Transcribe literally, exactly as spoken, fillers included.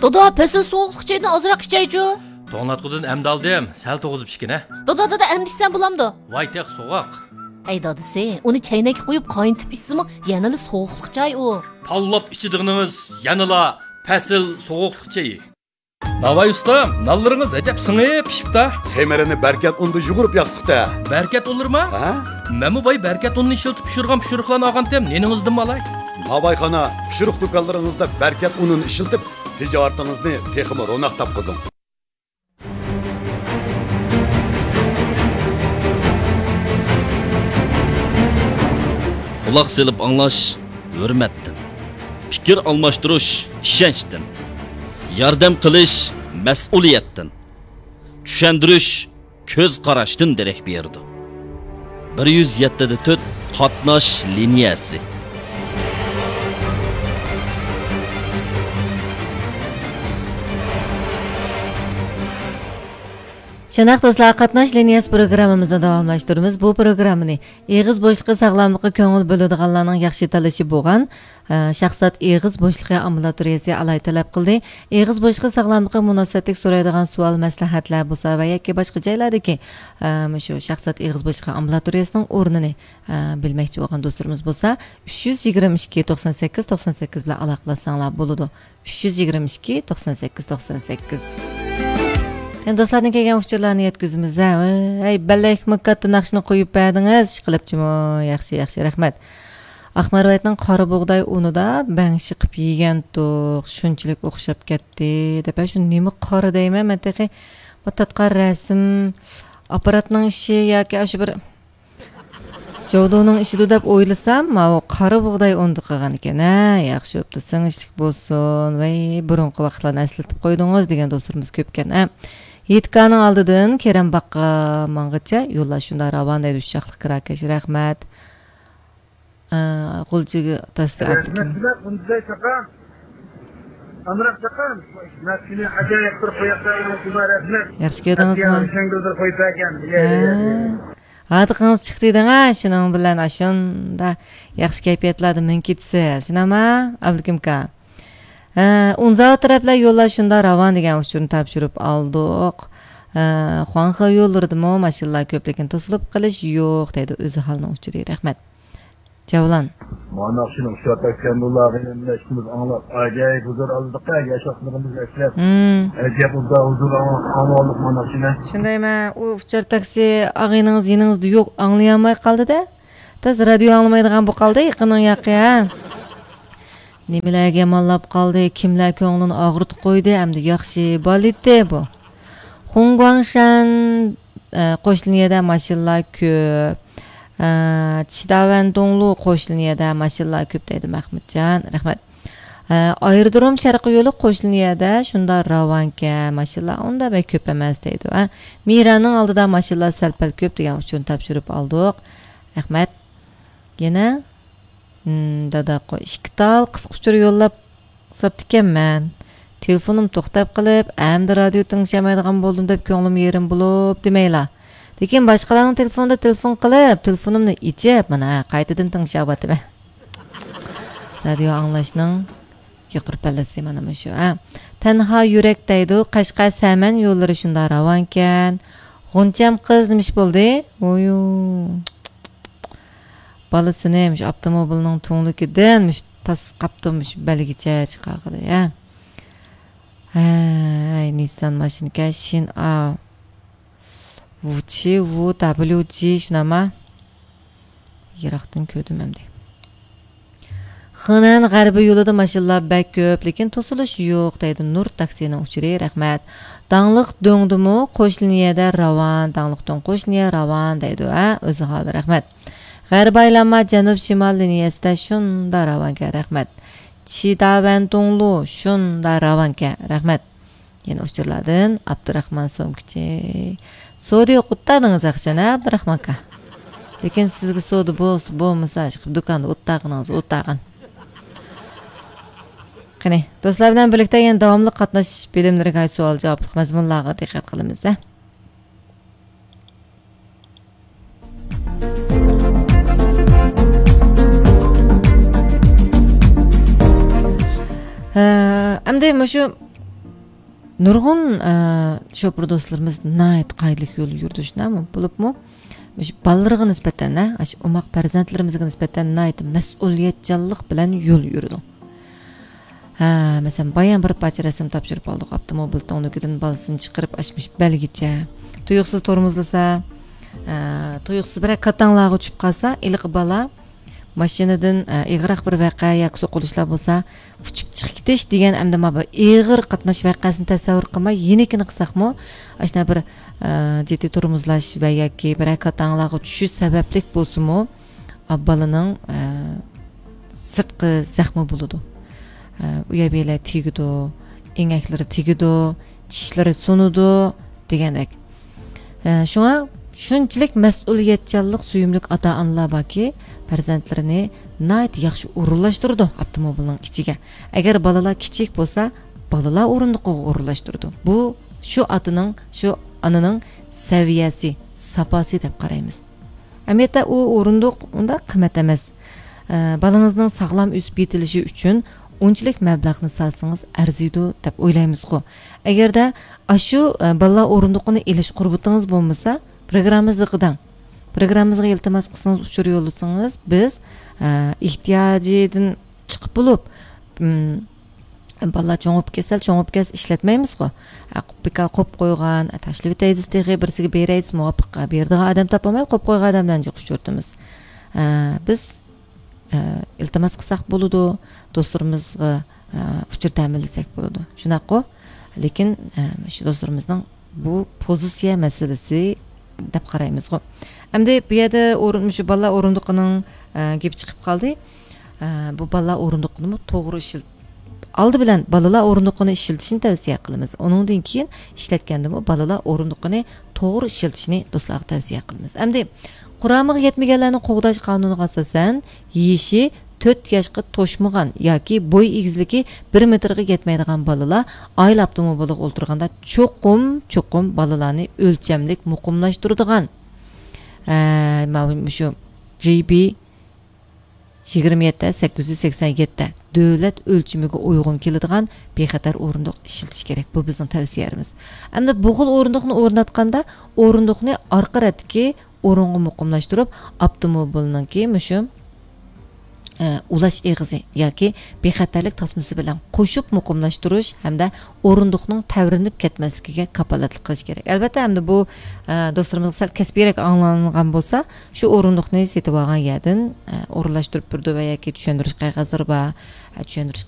دادا، پەسىل سوغۇقلۇق چايدىن ئازراق ئىچەيچۇ. توڭلاتقۇدىن ئەمدى ئالدىم، سەل توغۇزۇپ ئىچكىنە. دادا، دادا، ئەمدى ئىچسەم بولامدۇ؟ ۋاي تېخى سوغۇق. ھەي دادىسى، ئۇنى چەينەككە قۇيۇپ قاينىتىپ ئىچسىمۇ يەنىلا سوغۇقلۇق چاي ئۇ. تاللاپ ئىچىدىغىنىڭىز يەنىلا پەسىل سوغۇقلۇق چېيى. ناۋاي ئۇستا، نانلىرىڭىز ئەجەب سىڭىپ پىشىپتا. خېمىرىنى بەركەت ئۇندا يۇغۇرۇپ ياقتۇق-تە. بەركەت ئۇنلىرىما؟ ھە؟ مەنمۇ باي بەركەت ئۇنىنى ئىشلىتىپ پىشۇرغان پىشۇرۇقلارنى ئالغانتىم، نېنىڭىزدىنمۇ ئالاي. ناۋايخانا، پىشۇرۇق دۇكانلىرىڭىزدا بەركەت ئۇنىنى ئىشلىتىپ، تىجارىتىڭىزنى تېخىمۇ روناق تاپقۇزۇڭ. قۇلاق سېلىپ ئاڭلاش ھۆرمەتتىن، پىكىر ئالماشتۇرۇش ئىشەنچتىن، ياردەم قىلىش مەسئۇلىيەتتىن، چۈشەندۈرۈش كۆز قاراشتىن دېرەك بېرىدۇ. بىر يۈز يەتتە دە تۆت قاتناش لىنىيەسى. شۇنداق دوستلار، قاتناش لىنىيەسى پروگراممىمىزنى داۋاملاشتۇرىمىز. بۇ پروگراممىنى ئېغىز بوشلۇقى ساغلاملىققا كۆڭۈل بۆلىدىغانلارنىڭ ياخشى تاللىشى بولغان، ئە، شاھزات ئېغىز بوشلۇقى ئامبۇلاتورىيەسى ئالاھىدە تەلەپ قىلدى. ئېغىز بوشلۇقى ساغلاملىقىغا مۇناسىۋەتلىك سورايدىغان سوئال، مەسلىھەتلەر بولسا ۋە ياكى باشقا جايلاردىكى، ئە، مۇشۇ شاھزات ئېغىز بوشلۇقى ئامبۇلاتورىيەسىنىڭ ئورنىنى، ئە، بىلمەكچى بولغان دوستلىرىمىز بولسا، ئۈچ يۈز يىگىرمە ئىككى، توقسان سەككىز، توقسان سەككىز بىلەن ئالاقىلەشسەڭلار بولىدۇ. ئۈچ يۈز يىگىرمە ئىككى، توقسان سەككىز، توقسان سەككىز. يەنە دوستلاردىن كەلگەن ئۇچۇرلارنى يەتكۈزىمىز ھە. ھەي، بەلەكمۇ كاتتا ناخشىنى قويۇپ بەردىڭىز، ئىشقىلىپچىمۇ. ياخشى، ياخشى، رەھمەت. ئاقمارۋەتنىڭ قارا بۇغداي ئۇنىدا بەڭشى قىپ يېگەنتۇق، شۇنچىلىك ئوخشاپ كەتتى، دەپ. شۇ نېمە قارا دەيمەن مەن تېخى؟ بۇ تارتقان رەسىم ئاپپاراتنىڭ ئىشى ياكى ئاشۇ بىر جودۇنىڭ ئىشىدۇ دەپ ئويلىسام، ماۋۇ قارا بۇغداي ئۇندا قالغان ئىكەن ھە. ياخشى بوپتۇ، سىڭىشلىك بولسۇن. ۋەي، بۇرۇنقى ۋاقىتلارنى ئەسلىتىپ قويدىڭىز دېگەن دوستلىرىمىز كۆپكەن ھە. يېتىكانىڭ ئالدىدىن كېرەم باغقا ماڭغىچە يوللار شۇنداق راۋان دەيدۇ، شاخلىق كىراكەش، رەھمەت. ئە، غۇلجىگە تاسسا رەھمەت ئابلىكىم. بىلەن ئۇندىداي چاقا. ئامراق چاقا. مەسىلىنى ئاجايىپ بىر قويۇقلارنىڭ رەھمەت. ياخشى كۆردىڭىزمۇ؟ ئىشەڭگۈلدۇر قويۇپ بەرگەن. ھە. ھاردىقىڭىز چىقتى دەڭە، شۇنىڭ بىلەن ئاشۇندا ياخشى كەيپىياتلاردا مىڭ كېتىسىز. شۇنداقما، ئابلىكىمكا؟ ھە، ئۇنزاۋا تەرەپلەر يوللار شۇنداق راۋان دېگەن ئۇچۇرنى تاپشۇرۇپ ئالدۇق. ھە، خۇاڭخې يوللىرىدىمۇ ماشىنىلار كۆپ، لېكىن توسۇلۇپ قېلىش يوق، دەيدۇ ئۆزى ھالنىڭ ئۇچۇرى. رەھمەت. جەۋلان. مانا شۇنىڭ شۇ تەكشەندۇلارغا ئىشىمىز ئاڭلاپ، ئاجايىپ ھۇزۇر ئالدۇق-ھە، ياش ۋاقىتلىرىمىزنى ئەسلەپ. ھىم. ئەجەب ئۇدا ھۇزۇر ئاڭ-، ئاڭلىدۇق مانا شۇنى. شۇندايمەن، ئۇ ئۇچار تاكسى ئاغىنىڭىز يېنىڭىزدا يوق، ئاڭلىيالماي قالدى-دە. تاز رادىيو ئاڭلىمايدىغان بولۇپ قالدى يېقىننىڭ ياقى، ھە؟ نېمىلەرگە يامانلاپ قالدى، كىملەر كۆڭلىنى ئاغرىتىپ قويدى، ئەمدى ياخشى بالىتى بۇ. خۇڭگۇاڭشەن، ئە، قوشنا يەردە ماشىنىلار كۆپ. ئە، چىداۋەندۇڭلۇ قوشنا يەردە ماشىنىلار كۆپ دەيدۇ مەخمۇتجان. رەھمەت. ئە، ئايرودروم شەرقىي يولى قوشنا يەردە شۇنداق راۋانكەن، ماشىنىلار ئۇنداق بەك كۆپ ئەمەس دەيدۇ. ئە، مىرانىڭ ئالدىدا ماشىنىلار سەل-پەل كۆپ دېگەن ئۇچۇرنى تاپشۇرۇپ ئالدۇق. رەھمەت. يەنە، ھىم، دادا قوي، ئىككى تال قىسقا ئۇچۇر يوللاپ ساپتىكەنمەن. تېلېفونۇم توختاپ قېلىپ، ئەمدى رادىيو تىڭشىيالمايدىغان بولدۇم دەپ كۆڭلۈم يېرىم بولۇپ دېمەيلا. لېكىن باشقىلارنىڭ تېلېفونىدا تېلېفون قىلىپ، تېلېفونۇمنى ئېچىپ، مانا، قايتىدىن تىڭشاۋاتىمەن. رادىيو ئاڭلاشنىڭ يۇقىرى پەللىسى مانا مۇشۇ، ھە. تەنھا يۈرەك دەيدۇ، قەشقەر سەمەن يوللىرى شۇنداق راۋانكەن. غۇنچەم قىز نېمىش بولدى؟ ۋويۇ. بالىسىنى مۇشۇ ئاپتوموبىلنىڭ تۈڭلۈكىدىن مۇشۇ تاسقاپتۇ، مۇشۇ بەلگىچە چىقارغىلى، ھە. ھەي، نىسسان ماشىنىكەن، شىن ئا. ۋۇچى، ۋۇ دابليۇ جى، شۇنداقما؟ يىراقتىن كۆردۈم ئەمدى. خېنەن غەربىي يولىدا ماشىنىلار بەك كۆپ، لېكىن توسۇلۇش يوق، دەيدۇ نۇر تاكسىنىڭ ئۇچۇرى. رەھمەت. داڭلىق دۆڭدىمۇ قوشنا يەردە راۋان، داڭلىق دۆڭ قوشنا يەر راۋان، دەيدۇ، ھە، ئۆزى ھالى. رەھمەت. غەربىي ئايلانما جەنۇب شىمال لىنىيەسىدە شۇنداق راۋانكەن. رەھمەت. چىداۋەنتۇڭلۇ شۇنداق راۋانكەن. رەھمەت. يەنە ئۇچۇرلاردىن ئابدۇراخمان سومكىچى. سودا يوق ئوتتادىڭىز ئاخشام، ھە، ئابدۇراخمان ئاكا؟ لېكىن سىزگە سودا بولسا، بولمىسا، ئىشقىلىپ دۇكاندا ئوتتاغىنىڭىز ئوتتاغان. قېنى، دوستلار بىلەن بىرلىكتە يەنە داۋاملىق قاتناش بۆلۈملىرىگە سوئال جاۋابلىق مەزمۇنلارغا دىققەت قىلىمىز، ھە؟ ھە، ئەمدى مۇشۇ نۇرغۇن، ئە، شوپۇر دوستلىرىمىز ناھايىتى قائىدىلىك يول يۈرىدۇ، شۇنداقمۇ؟ بولۇپمۇ مۇشۇ بالىلىرىغا نىسبەتەن، ھە، ئاشۇ ئوماق پەرزەنتلىرىمىزگە نىسبەتەن ناھايىتى مەسئۇلىيەتچانلىق بىلەن يول يۈرىدۇ. ھە، مەسىلەن، بايام بىر پارچە رەسىم تاپشۇرۇپ ئالدۇق، ئاپتوموبىل تۈڭلۈكىدىن بالىسىنى چىقىرىپ، ئاشمۇش بەلگىچە تۇيۇقسىز تورمۇزلىسا، ئە، تۇيۇقسىز بىرەر كاتاڭلارغا چۈشۈپ قالسا، ئېلىقى بالا ماشىنىدىن، ئە، ئېغىرراق بىر ۋەقە ياكى سوقۇلۇشلار بولسا، ئۇچۇپ چىقىپ كېتىش دېگەن ئەمدى مانا بۇ ئېغىر قاتناش ۋەقەسىنى تەسەۋۋۇر قىلماي، يېنىكىنى قىلساقمۇ، ئاشۇنداق بىر، ئە، جىددىي تورمۇزلاش ۋە ياكى بىرەر كاتاڭلارغا چۈشۈش سەۋەبلىك بولسىمۇ، ئا، بالىنىڭ، ئە، سىرتقى زەخمى بولىدۇ. ئە، ئۇ يەر بۇ يەرلەر تېگىدۇ، ئېڭەكلىرى تېگىدۇ، چىشلىرى سۇنىدۇ دېگەندەك. ئە، شۇڭا شۇنچىلىك مەسئۇلىيەتچانلىق سۆيۈملۈك ئاتا-ئانىلار باركى، پەرزەنتلىرىنى ناھايىتى ياخشى ئورۇنلاشتۇرىدۇ ئاپتوموبىلنىڭ ئىچىگە. ئەگەر بالىلار كىچىك بولسا، بالىلار ئورۇندۇقىغا ئورۇنلاشتۇرىدۇ. بۇ شۇ ئاتىنىڭ، شۇ ئانىنىڭ سەۋىيەسى، ساپاسى دەپ قارايمىز. ئەمەلىيەتتە ئۇ ئورۇندۇق ئۇنداق قىممەت ئەمەس. ئە، بالىڭىزنىڭ ساغلام ئۆسۈپ يېتىلىشى ئۈچۈن ئۇنچىلىك مەبلەغنى سالسىڭىز ئەرزىيدۇ دەپ ئويلايمىزغۇ. ئەگەردە ئاشۇ، ئە، بالىلار ئورۇندۇقىنى ئېلىش قۇربىتىڭىز بولمىسا، پروگراممىڭىزغا قىداڭ. پروگراممىڭىزغا ئىلتىماس قىلسىڭىز، ئۇچۇر يوللىسىڭىز، بىز، ئە، ئېھتىياجىدىن چىقىپ بولۇپ، ئىم، بالىلار چوڭىيىپ كەتسە، چوڭىيىپ كەتسە ئىشلەتمەيمىزغۇ. ئە، بىكار قويۇپ قويغان، ئە، تاشلىۋېتەيدىز تېخى، بىرسىگە بېرەيدىز، مۇۋاپىق بېرىدىغان ئادەم تاپالماي قويۇپ قويغان ئادەملەرنى جىق ئۇچرىتىمىز. ئە، بىز، ئە، ئىلتىماس قىلساق بولىدۇ، دوستلىرىمىزغا، ئە، ئۇچۇر تەمىنلىسەك بولىدۇ. شۇنداققۇ؟ لېكىن، ئە، شۇ دوستلىرىمىزنىڭ بۇ پوزىتسىيە مەسىلىسى دەپ قارايمىزغۇ. ئەمدى بۇ يەردە ئورۇن-، مۇشۇ بالىلار ئورۇندۇقىنىڭ، ئە، گېپى چىقىپ قالدى. ئە، بۇ بالىلار ئورۇندۇقىنىمۇ توغرا ئىشلىتىپ، ئالدى بىلەن بالىلار ئورۇندۇقىنى ئىشلىتىشنى تەۋسىيە قىلىمىز. ئۇنىڭدىن كېيىن ئىشلەتكەندىمۇ بالىلار ئورۇندۇقىنى توغرا ئىشلىتىشنى دوستلارغا تەۋسىيە قىلىمىز. ئەمدى قۇرامىغا يەتمىگەنلەرنى قوغداش قانۇنىغا ئاساسەن، يېشى تۆت ياشقا توشمىغان ياكى بوي ئېگىزلىكى بىر مېتىرغا يەتمەيدىغان بالىلار ئائىلە ئاپتوموبىلىغا ئولتۇرغاندا چوقۇم، چوقۇم بالىلارنى ئۆلچەملىك مۇقىملاشتۇرىدىغان، ئە، ماۋۇ مۇشۇ جى بى يىگىرمە يەتتە سەككىز يۈز سەكسەن يەتتە دۆلەت ئۆلچىمىگە ئۇيغۇن كېلىدىغان بىخەتەر ئورۇندۇق ئىشلىتىش كېرەك. بۇ بىزنىڭ تەۋسىيەمىز. ئەمدى بۇ خىل ئورۇندۇقنى ئورناتقاندا، ئورۇندۇقنى ئارقا رەتتىكى ئورۇنغا مۇقىملاشتۇرۇپ، ئاپتوموبىلنىڭكى مۇشۇ، ئە، ئۇلاش ئېغىزى ياكى بىخەتەرلىك تاسمىسى بىلەن قوشۇپ مۇقىملاشتۇرۇش ھەمدە ئورۇندۇقنىڭ تەۋرىنىپ كەتمەسلىكىگە كاپالەتلىك قىلىش كېرەك. ئەلۋەتتە، ئەمدى بۇ، ئە، دوستلىرىمىزغا سەل كەسپىيرەك ئاڭلانغان بولسا، شۇ ئورۇندۇقنى سېتىۋالغان يەردىن، ئە، ئورۇنلاشتۇرۇپ بېرىدۇ ۋە ياكى چۈشەندۈرۈش قەغەزلىرى بار، ئە، چۈشەندۈرۈش